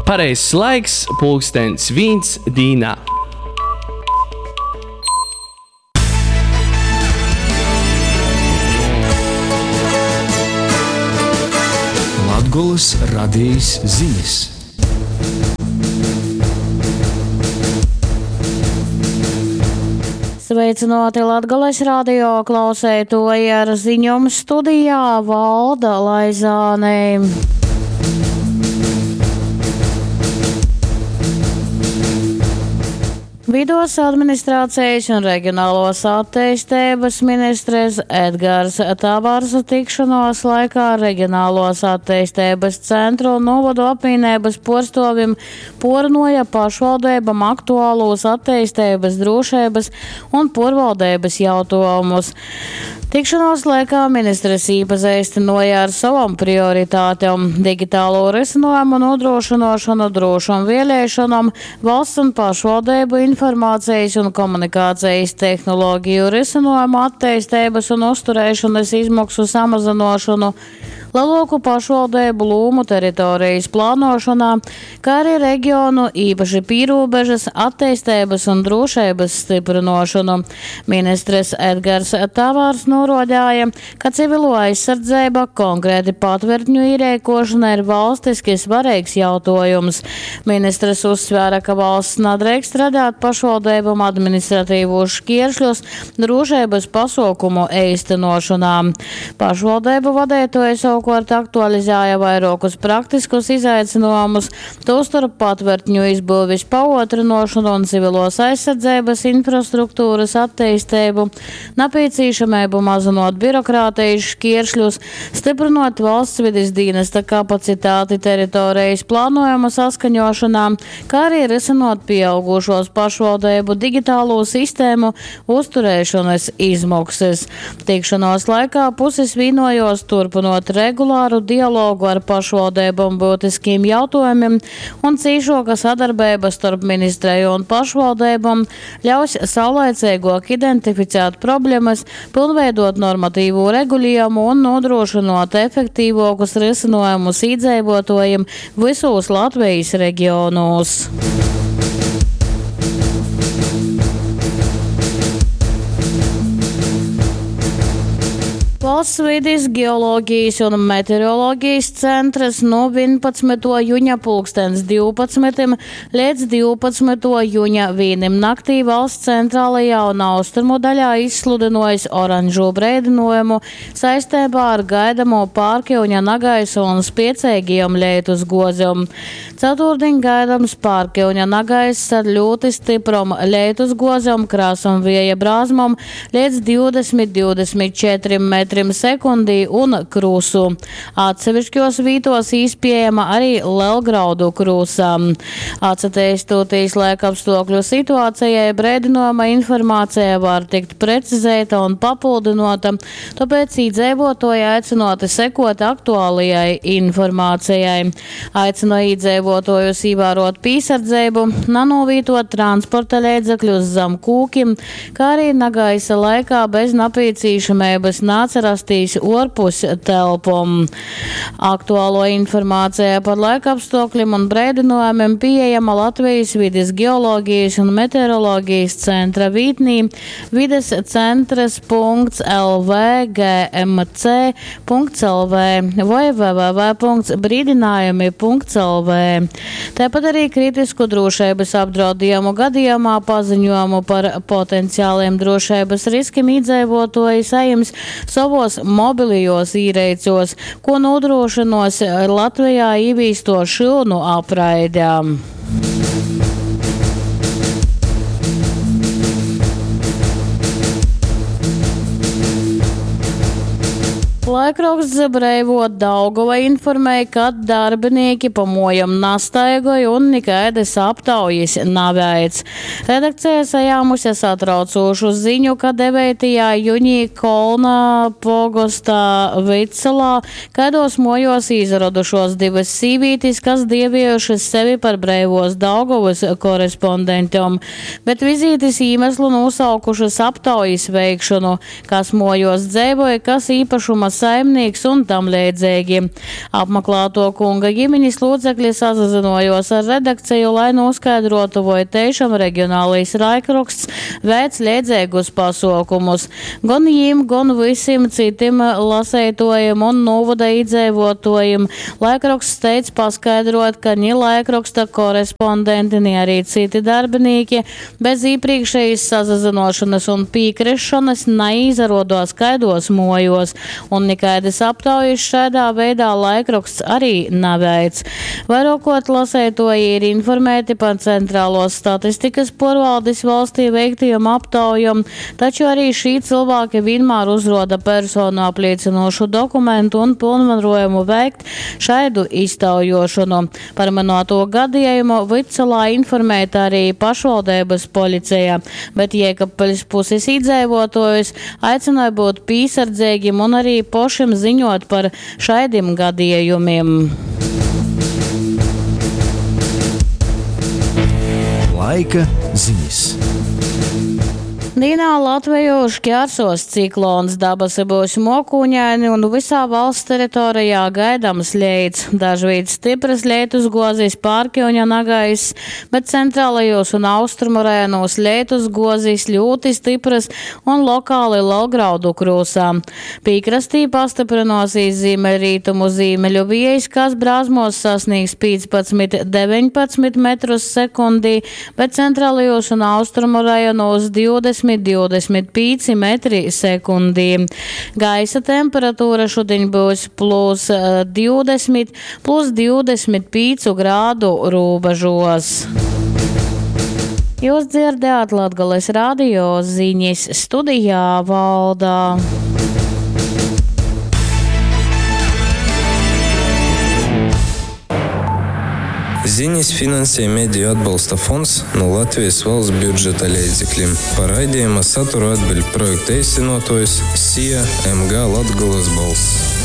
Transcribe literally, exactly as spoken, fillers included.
Pareizs laiks pulkstens vīns dīnā. Latgolys radejis zinis. Sveicināti Latgales radio klauseitoji ar ziņom studijā Valda Laizāne. Vidos administrācijas un reģionālos attīstības ministres Edgars Tavars tikšanos laikā reģionālos attīstības centru un novadu apvienības porstovim pornoja pašvaldībam aktuālos attīstības, drošības un porvaldības jautājumus. Tikšanos laikā ministres īpazīstināja ar savam prioritātēm – digitālo risinājumu nodrošināšanu, drošam vēlēšanām, valsts un pašvaldību informācijas un komunikācijas tehnoloģiju risinājumu attīstības un uzturēšanas izmaksu samazināšanu, lielāku pašvaldību lūmu teritorijas plānošanā, kā arī reģionu, īpaši pīrūbežas, attīstības un drošības stiprinošanu. Ministres Edgars Tavārs norodāja, ka civilo aizsardzība, konkrēti patvertņu ierēkošana ir valstiski svarīgs jautājums. Ministres uzsvēra, ka valsts nedrīkst radīt pašvaldībām administratīvos šķēršļus drošības pasaukumu īstenošanā. Pašvaldību vadītāji savukārt aktualizēja vairākus praktiskus izaicinājumus, tostarp patvertņu izbūves paotrinošanu un civilos aizsardzības infrastruktūras attīstību, nepieciešamību mazinot birokrātijas šķēršļus, stiprinot valsts vides dienesta kapacitāti teritorijas plānojuma saskaņošanā, kā arī risinot pieaugušos pašvaldību digitālo sistēmu uzturēšanas izmaksas. Tikšanos laikā puses vienojos turpinot regulāru dialogu ar pašvaldībām būtiskiem jautājumiem un cīšoka sadarbība starp ministriju un pašvaldībām ļaus saulaicīgāk identificēt problēmas, pilnveidot normatīvo regulējumu un nodrošinot efektīvākus risinājumus iedzīvotājiem visos Latvijas reģionos. Valsts vides geoloģijas un meteoroloģijas centrs no vienpadsmito juņa pulkstens divpadsmitim līdz divpadsmito juņa vīnim naktī valsts centrālajā un austrumu daļā izsludinojis oranžo brēdinājumu saistībā ar gaidamo pārkiuņa nagaisu un spiecīgiem lietus gozēm. Ceturtdien gaidams pārkiuņa nagaiss ar ļoti stiprom lietus gozēm, krāsam vieja brāzmam līdz divdesmit, divdesmit četriem metriem sekundī un krusu. Atsevišķos vītos īspējama arī lielgraudu krusa. Atsatīstoties laikapstākļu situācijai, brēdinājuma informācija var tikt precizēta un papildinota, tāpēc iedzīvotāji aicināti sekot aktuālajai informācijai. Aicinu iedzīvotājus ievērot piesardzību, nanovītot transporta līdzekļus zem kūkim, kā arī nagaisa laikā bez nepieciešamības nāca rastīs orpus telpom. Aktuālo informāciju par laikapstākļiem un brēdinājumiem pieejama Latvijas vides geoloģijas un meteoroloģijas centra vītnī vides centrs punkts L V G M C punkts L V vai w w w punkts brīdinājumi punkts L V. Tāpat arī kritisku drošības apdraudējumu gadījumā paziņojumu par potenciāliem drošības riskiem iedzīvotāji saņems savos mobilijos īreicos, ko nodrošinos Latvijā ievīsto šilnu apraidēm. Laikraksts Breivo Daugava informēja, ka darbinieki pa mojam nastaigoja un nekaidas aptaujas naveic. Redakcija sajāmusi satraucošu ziņu, ka devītajā jūnijā Kolna pogostā Vicelā kaidos mojos izradušos divas sīvītis, kas dievējušas sevi par Breivos Daugavas korespondentom, bet vizītes iemeslu nosaukušas aptaujas veikšanu, kas mojos dzēvoja, kas īpašuma saimnīks un tam leidzeigi. Apmaklātuo kunga ģimenis lūcekļi sasazynuojuos ar redakciju, lai noskaidrotu, voi teišam regionālais laikroksts veic leidzeigus pasuokumus. Gon jīm, gon vysim citim laseituojim un nūvoda īdzeivuotuojim laikroksts steidz paskaidrot, ka ni laikroksta korespondenti, ni arī citi darbinīki bez iepriekšējas sasazynošanas un pīkrišanas neīzarodos kaidos mojos, un nekaidas aptaujas šādā veidā laikroksts arī neveic. Vairākot lasētoji ir informēti par centrālos statistikas porvaldes valstī veiktajam aptaujam, taču arī šī cilvēki vienmēr uzroda personu apliecinošu dokumentu un pilnvarojumu veikt šaidu iztaujošanu. Par minēto gadījumu Vidsalā informēta arī pašvaldības policija, bet Jēkabpiļs puses iedzīvotājus aicināja būt piesardzīgiem un arī pošim ziņot par šādiem gadījumiem. Laika ziņas. Dīnā Latviju šķērsos ciklons, dabasi būs mokūņaini un visā valsts teritorijā gaidams leits. Dažvīt stipras leitus gozis pārkiuņa nagaiss, bet centrālajos un austrumu rajonos leitus gozis ļoti stipras un lokāli lielgraudu krūsā. Pīkrastī pastiprinosies ziemeļrietumu zīmeļu viejs, kas brāzmos sasniegs piecpadsmit deviņpadsmit metrus sekundī, bet centrālajos un austrumu rajonos divdesmit divdesmit pieci metri sekundī. Gaisa temperatūra šodien būs plus divdesmit, plus divdesmit pīcu grādu robežos. Jūs dzirdējāt Latgales radio ziņas studijā Valdā. Ziņas finansē Mediju atbalsta fonds no Latvijas valsts budžeta līdzekļiem. Par raidījuma saturu atbild projekta īstenotājs S I A M G Latgolas balss.